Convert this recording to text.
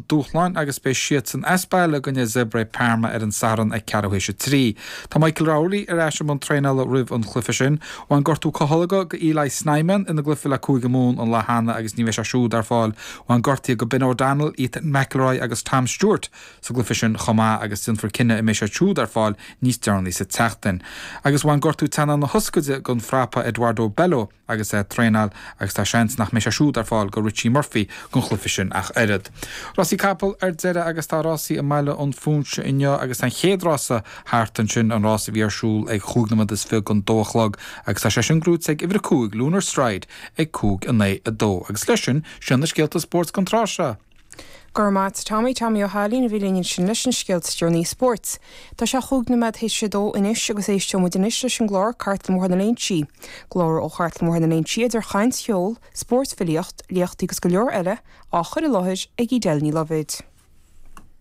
dúshláin agus beidh siadsan as baile i gcoinne Zebre Parma ar an Satharn ag ceathrú théis a 3. Tá Michael Rowley ar ais i mbun traenála roimh an chluiche sin. Bhain gortú calóga go Eli Snyman ina gcluiche le Cúige Mumhan an lá cheana agus ní bheidh sé siúd ar fáil. Bhain gortuithe go Ben O'Donnell, Ethan McIlroy agus Tom Stewart sa gcluiche sin chomh maith agus déanfar cinneadh an mbeidh siad siúd ar fáil níos deireanaí sa tseachtain. Agus bhain gortú teannán na hioscaide don phrapa Eduardo Bello agus é ag traenáil agus tá seans nach mbeidh sé siúd ar fáil go Richie Murphy don chluiche sin ach oiread. Rásaí capall ar deireadh agus tá rásaí i mBaile an Phúinse inniu agus tá an chéad rása thart ansin, an rás a bhí ar siúl ag chúig nóiméad is fiche don dó a chlog agus tá sé sin gnóite ag uimhir a 5, Lunar Stride, ag 5, 9, 2. Agus leis sin, sin na scéalta spóirt don tráth seo. Go raibh maith a't Tommy, Tommy Ó hAilín a bhí linn ansin leis na scéalta is deireanaí spóirt. Tá sé chúig nóiméad théis a dó anois agus éisteoidh muid anois leis an gclár Cartlann Bhóthar na Léinsí. Glór ó Chartlann Bhóthar na Léinsí idir chaint, cheol, spórt, filíocht, léachtaí agus go leor eile, á chur i láthair ag Edel Ní Loibhéid.